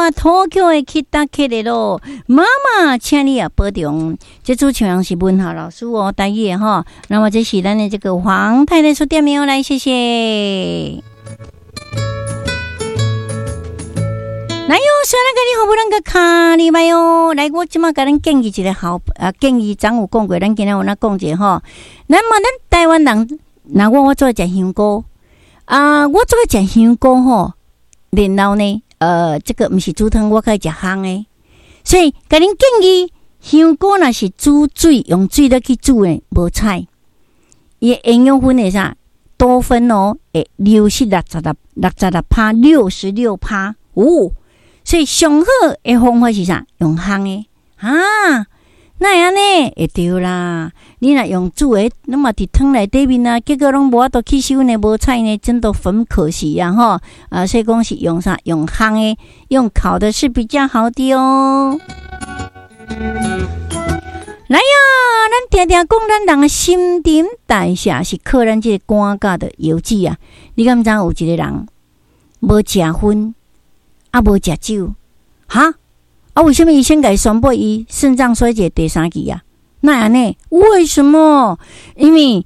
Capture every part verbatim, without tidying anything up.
我東京へ來たけれど，媽媽，請你也保重。這主持人是文豪老師哦，台語的吼。那麼這是咱的這個黃太太所點名來，謝謝。來喲，說那個你好不咱個卡你麥喲。來，我這馬共恁建議一個好啊，建議昨有講過，咱今仔有哪講一下吼。那麼咱台灣人，若我我做食香菇啊，我做食香菇吼，然後呢，呃，這個毋是煮湯，我較愛食烘的，所以共恁建議，香菇若是煮水，用水落去煮的，無彩，伊的營養分會啥？多酚哦，會流失六十六六十六趴，六十六趴哦。所以上好的方法是啥？用烘的啊？哪會按呢？會對啦。你若用煮的，攏嘛佇湯內底面啊，結果攏無法度吸收呢，無彩呢，真的很可惜呀！吼啊，所以講是用啥？用烘的，用烤的是比較好的哦。來呀，咱定定講，咱人的新陳代謝是靠咱這個肝佮著腰子啊。你敢知有一個人無食薰，啊無食酒，哈？啊，為啥物醫生共伊宣布伊腎臟衰竭第三期啊？哪會按呢？為什麼？因為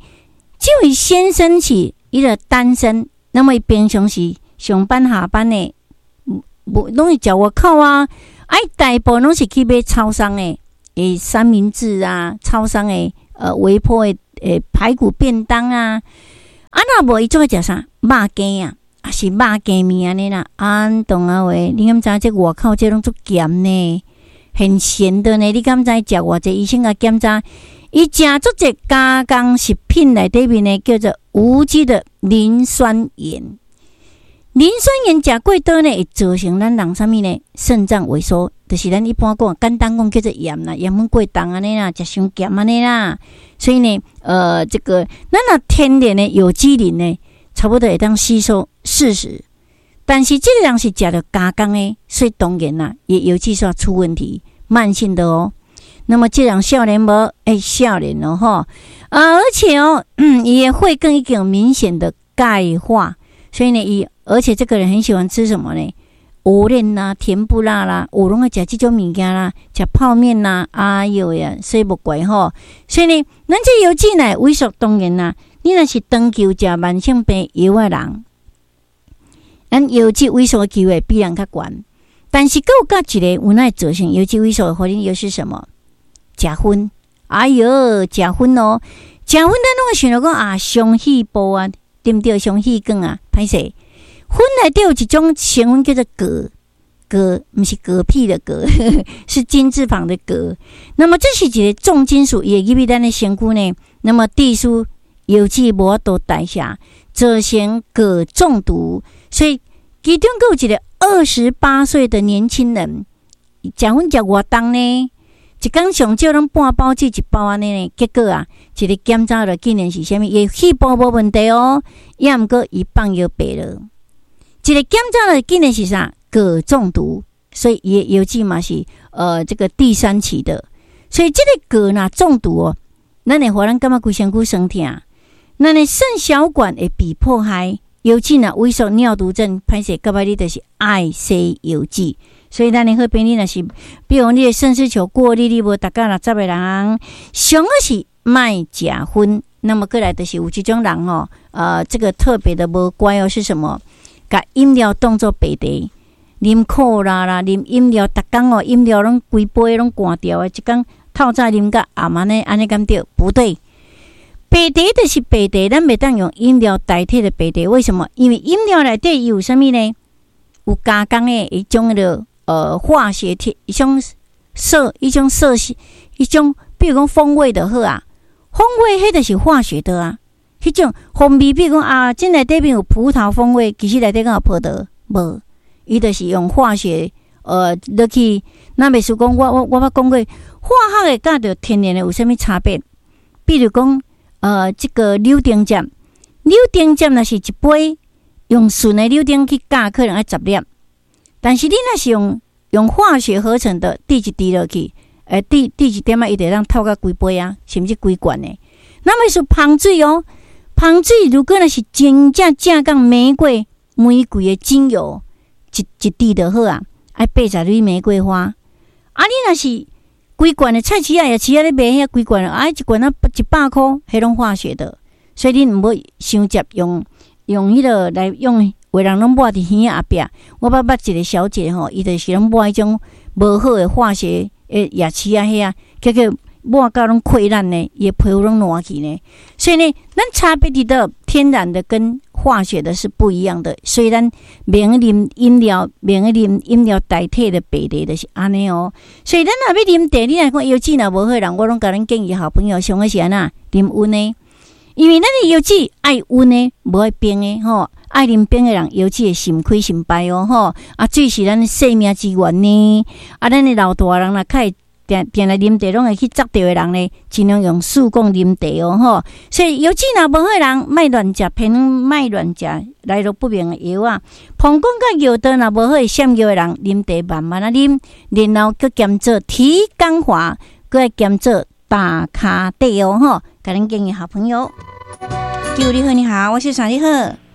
這位先生是伊個單身，那麼伊平常時上班下班的，無攏是食外口啊。啊，伊大部分攏是去買超商的，欸，三明治啊，超商的呃微波的欸排骨便當啊。啊，若無伊總愛食啥？肉羹啊，抑是肉羹麵按呢啦。安當啊話，你敢知這外口這攏足鹹呢？很鹹的呢。你敢知食偌濟？醫生共檢查，伊食足濟加工食品內底面呢，叫做無機的磷酸鹽。磷酸鹽食過多呢，會造成咱人啥物呢？腎臟萎縮，就是咱一般講簡單講叫做鹽啦，鹽分過重按呢啦，食傷鹹按呢啦。所以呢，呃，這個咱若天然的有機磷呢，差不多會當吸收四十，但是這個人是食著加工的，所以當然啦，伊腰子煞出問題，慢性的哦。那麼這人少年無？欸，少年哦吼啊，而且哦，嗯，伊的血管已經有明顯的鈣化，所以呢，伊而且這個人很喜歡吃什麼呢？芋輪啦，甜不辣啦，有攏愛食這種物件啦，食泡麵啦，哎喲呀，所以無怪吼。所以呢，咱這腰子呢萎縮，當然啦，你若是長期有食慢性病藥的人，咱腰子萎縮的機會比人較懸。但是閣有佮一個有哪會造成腰子萎縮的原因又是什麼？食薰，哎喲，食薰哦，食薰咱攏會想著講啊，傷肺部啊，對毋對？傷氣管啊，歹勢。薰內底有一種成分叫做鉻，鉻毋是嗝屁的嗝，是金字旁的鎘。那麼這是一個重金屬，伊會入去咱的身軀呢。那麼致使腰子無法度代謝，造成鉻中毒。所以其中閣有一個二十八歲的年輕人，食薰食偌重呢？一工上少攏半包至一包按呢呢。結果啊，一個檢查了竟然是啥物？伊肺部無問題哦，抑毋過伊放藥白了。一個檢查了竟然是啥？鉻中毒，所以伊的腰子嘛是呃這個第三期的。所以這個鉻若中毒哦，咱會予咱感覺規身軀酸痛，咱的腎小管會被破壞，腰子若萎縮尿毒症，歹勢到尾你就是愛洗腰子。所以咱的好朋友若是，比如你的腎絲球過濾率無達到六十的人，上好是莫食薰。那麼過來就是有這種人哦，呃，這個特別的無乖哦，是什麼？共飲料當做白茶，啉可樂啦，啉飲料，逐工哦，飲料攏規杯攏乾掉的，一工透早啉到暗按呢，按呢敢對？不對，白茶就是白茶，咱袂當用飲料代替的白茶。為什麼？因為飲料內底伊有啥物呢？有加工的一種的呃化學體，一種色，一種色系，一種，比如講風味就好啊，風味彼就是化學的啊。彼種風味，比如講啊，這內底面有葡萄風味，其實內底敢有葡萄？無，伊就是用化學呃落去。咱袂輸講，我我我捌講過，化學的佮著天然的有啥物差別？比如講，呃，這個柳丁汁，柳丁汁若是一杯用純的柳丁去加，可能愛十粒。但是你若是用用化學合成的，滴一滴落去，欸，滴滴一點仔，伊就會當透到規杯啊，甚至規罐的。那麼是芳水哦。芳水如果若是真正正港玫瑰玫瑰的精油，一一滴就好啊。愛八十蕊玫瑰花。啊，你若是規罐的菜市仔夜市仔咧賣遐規罐，啊，一罐仔一百箍，彼攏化學的，所以恁毋好傷濟用用彼個來用，有的人攏抹佇耳仔後壁。我捌捌一個小姐吼，伊就是攏抹彼種無好的化學的夜市仔遐，結果抹到攏潰爛呢，伊的皮膚攏爛去呢。所以呢，咱差別佇佗天然的跟化學的是不一樣的。所以咱袂用啉飲料，袂用啉飲料代替的白茶就是按呢哦。所以咱若欲啉茶，你若講腰子若無好的人，我攏共恁建議好朋友上好是按怎啉溫的，因為咱的腰子愛溫的，無愛冰的吼。愛啉冰的人，腰子會心虧心敗哦吼。啊，水是咱生命之源呢。啊，咱的老大人若較會定定來啉茶，攏會去執著的人呢，盡量用速凍啉茶哦吼。所以腰子若無好的人，莫亂食偏方，莫亂食來路不明的藥仔。膀胱佮尿道若無好會瀉尿的人，啉茶慢慢仔啉，然後閣兼做提肛華，閣愛兼做打卡底哦吼。共恁建議好朋友。九你好，你好，我姓啥？你好。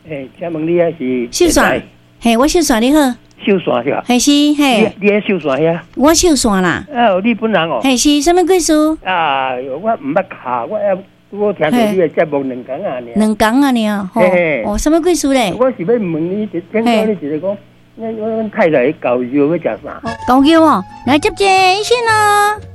欸，請問你遐是？秀山，嘿，我秀山你好。秀山是吧？嘿是，嘿。你佇秀山遐？我秀山啦。哦，你本人哦。嘿是，啥物鬼事？啊，我毋捌敲，我猶拄好聽著你的節目兩工仔爾。兩工仔爾，吼。哦，啥物鬼事咧？我是欲問你，聽講你一個講，阮阮太太𪜶狗尿欲食啥？狗尿哦，來接這個醫生哦。